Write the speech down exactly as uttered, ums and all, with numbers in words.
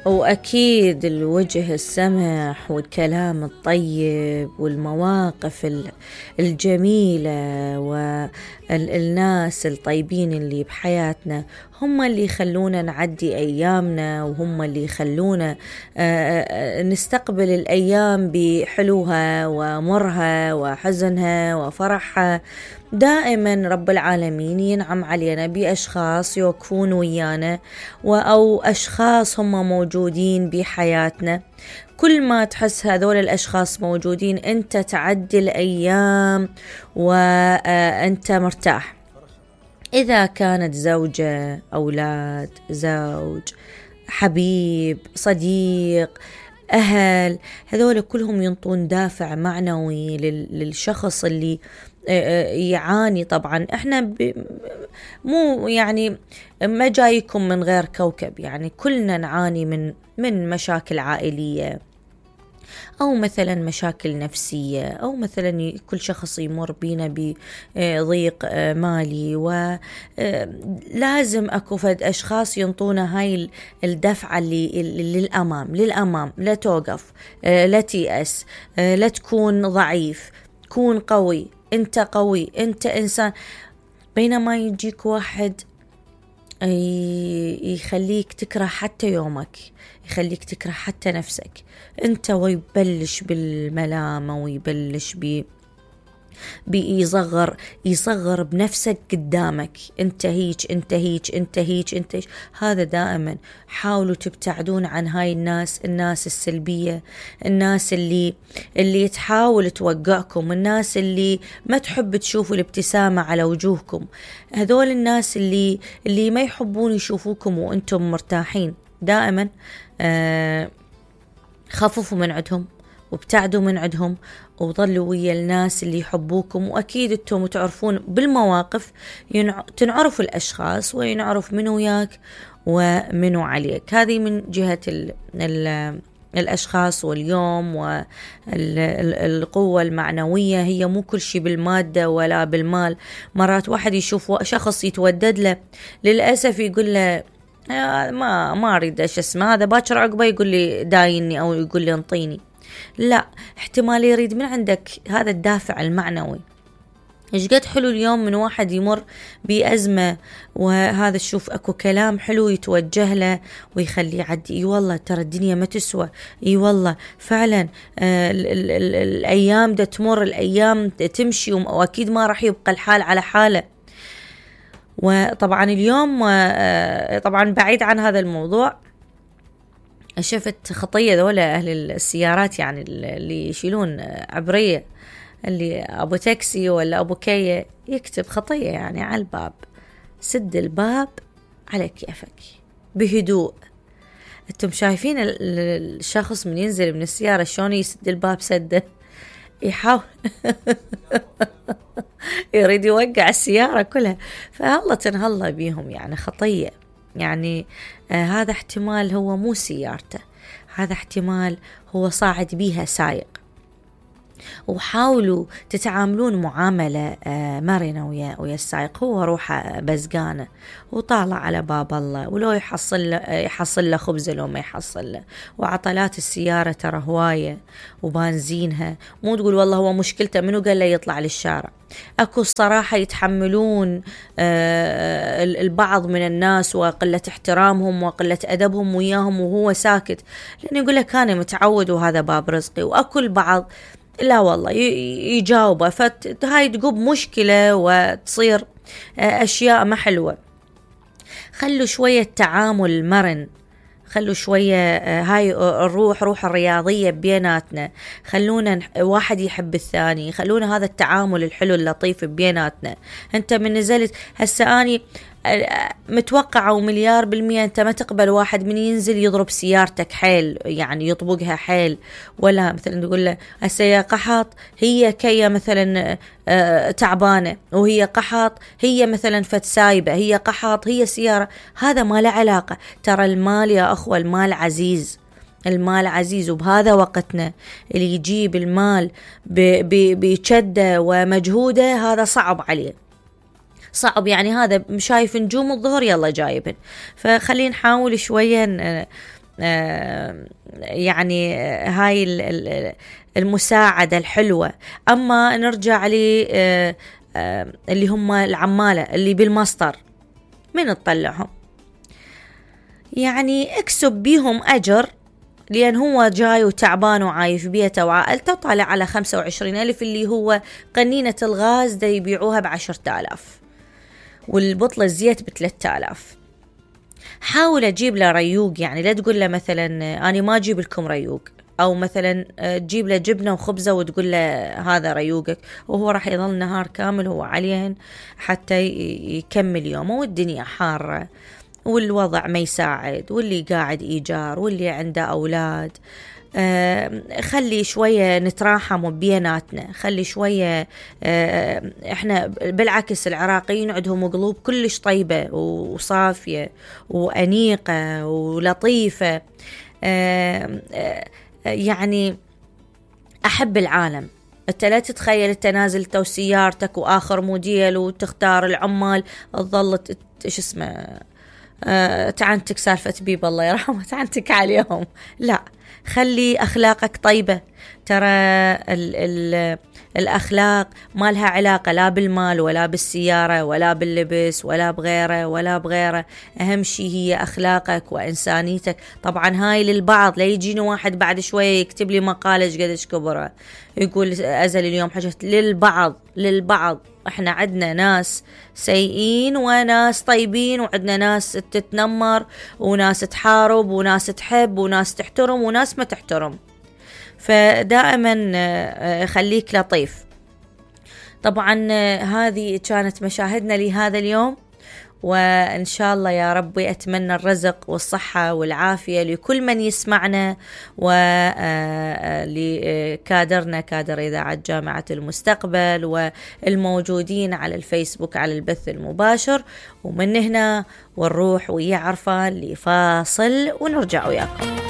وأكيد الوجه السمح والكلام الطيب والمواقف الجميلة والناس الطيبين اللي بحياتنا هم اللي يخلونا نعدي أيامنا، وهم اللي يخلونا نستقبل الأيام بحلوها ومرها وحزنها وفرحها. دائما رب العالمين ينعم علينا بأشخاص يوقفون ويانا أو أشخاص هم موجودين بحياتنا. كل ما تحس هذول الأشخاص موجودين أنت تعدي الأيام وأنت مرتاح. إذا كانت زوجة، أولاد، زوج، حبيب، صديق، أهل، هذول كلهم ينطون دافع معنوي للشخص اللي يعاني. طبعا احنا ب... مو يعني ما جايكم من غير كوكب، يعني كلنا نعاني من من مشاكل عائلية أو مثلا مشاكل نفسية، أو مثلا كل شخص يمر بينا بضيق مالي، ولازم أكو فد أشخاص ينطونا هاي الدفعة اللي للأمام للأمام لا توقف، لا تيأس، لا تكون ضعيف، كون قوي، أنت قوي، أنت إنسان. بينما يجيك واحد يخليك تكره حتى يومك، يخليك تكره حتى نفسك أنت، ويبلش بالملامة ويبلش ب بيصغر يصغر بنفسك قدامك، انت هيك انت هيك انت هيك انت هيك. هذا دائما حاولوا تبتعدون عن هاي الناس، الناس السلبية، الناس اللي اللي تحاول توقعكم، الناس اللي ما تحب تشوفوا الابتسامة على وجوهكم، هذول الناس اللي اللي ما يحبون يشوفوكم وانتم مرتاحين. دائما آه خففوا من عندهم وابتعدوا من عندهم، وظلوا ويا الناس اللي يحبوكم. وأكيد انتم تعرفون بالمواقف ينع... تنعرف الأشخاص وينعرف منو وياك ومنو عليك. هذه من جهة ال... ال... الأشخاص واليوم والقوة المعنوية. هي مو كل شيء بالمادة ولا بالمال. مرات واحد يشوف شخص يتودد له، للأسف يقول له ما ما أريد ايش اسمه هذا، باكر عقبه يقول لي دايني أو يقول لي انطيني. لا، احتمال يريد من عندك هذا الدافع المعنوي. ايش قد حلو اليوم من واحد يمر بأزمة، وهذا شوف اكو كلام حلو يتوجه له ويخليه يعدي. اي والله ترى الدنيا ما تسوى، اي والله فعلا آه ال ال ال الايام ده تمر، الايام تمشي، واكيد ما راح يبقى الحال على حاله. وطبعا اليوم آه طبعا بعيد عن هذا الموضوع، شفت خطية ذولا أهل السيارات، يعني اللي يشيلون عبرية، اللي أبو تاكسي ولا أبو كية يكتب خطية يعني على الباب، سد الباب على كيفك بهدوء. انتم شايفين الشخص من ينزل من السيارة شلون يسد الباب سده، يحاول يريد يوقع السيارة كلها. فهلا تنهلا بيهم، يعني خطية. يعني آه هذا احتمال هو مو سيارته، هذا احتمال هو صاعد بيها سايق. وحاولوا تتعاملون معاملة آه مرنة ويا ويا السائق. هو روحه بزقانة وطالع على باب الله، ولو يحصل له يحصل له خبزة لو ما يحصل له. وعطلات السيارة ترى هواية وبنزينها، مو تقول والله هو مشكلته منو قال له يطلع للشارع. أكو الصراحة يتحملون آه البعض من الناس وقلة احترامهم وقلة أدبهم وياهم وهو ساكت، لأنه يقول لك أنا متعود وهذا باب رزقي. وأكو البعض لا والله يجاوبه، فهاي تقوب مشكلة وتصير أشياء ما حلوة. خلوا شوية تعامل مرن، خلوا شوية هاي الروح روح الرياضية بيناتنا، خلونا واحد يحب الثاني، خلونا هذا التعامل الحلو اللطيف بيناتنا. انت من نزلت هسه اني متوقعة ومليار بالمية انت ما تقبل واحد من ينزل يضرب سيارتك حيل، يعني يطبقها حيل، ولا مثلا تقول له هسه يا قحط هي كيا مثلا آه تعبانة، وهي قحط هي مثلا فت سايبة، هي قحط هي سيارة. هذا ما له علاقة. ترى المال يا أخوة المال عزيز، المال عزيز. وبهذا وقتنا اللي يجيب المال بشدة ومجهوده هذا صعب عليه، صعب يعني هذا شايف نجوم الظهر يلا جايبن. فخلينا نحاول شوية يعني هاي المساعدة الحلوة. أما نرجع لي اللي هم العمالة اللي بالمصدر، من تطلعهم؟ يعني اكسب بيهم أجر، لأن هو جاي وتعبان وعايش بيته وعائلته وطالع على خمسة وعشرين ألف، اللي هو قنينة الغاز دا يبيعوها بعشرة آلاف، والبطلة الزيت بثلاثة آلاف. حاول أجيب له ريوق، يعني لا تقول له مثلا أنا ما أجيب لكم ريوق، أو مثلا تجيب له جبنة وخبزة وتقول له هذا ريوقك، وهو راح يظل نهار كامل هو عليهن حتى يكمل يومه، والدنيا حارة والوضع ما يساعد، واللي قاعد إيجار واللي عنده أولاد. آه خلي شوية نتراحم بيناتنا، خلي شوية آه احنا بالعكس العراقيين عندهم قلوب كلش طيبة وصافية وأنيقة ولطيفة. آه آه يعني أحب العالم. انت لا تتخيل انت نازل تو سيارتك واخر موديل وتختار العمال تظل ايش اسمه أه تعنتك سالفة بيب الله يرحمه تعنتك عليهم. لا، خلي أخلاقك طيبة. ترى ال ال الأخلاق ما لها علاقة لا بالمال ولا بالسيارة ولا باللبس ولا بغيره ولا بغيره. أهم شيء هي أخلاقك وإنسانيتك. طبعا هاي للبعض، لا يجيني واحد بعد شوية يكتب لي مقالة قديش كبره يقول أزل اليوم حاجة. للبعض للبعض احنا عندنا ناس سيئين وناس طيبين، وعندنا ناس تتنمر وناس تحارب وناس تحب وناس تحترم وناس ما تحترم. فدائما خليك لطيف. طبعا هذه كانت مشاهدنا لهذا اليوم، وإن شاء الله يا ربي أتمنى الرزق والصحة والعافية لكل من يسمعنا، ولكادرنا كادر إذاعة جامعة المستقبل والموجودين على الفيسبوك على البث المباشر. ومن هنا ونروح ويا عرفان لفاصل ونرجع وياكم.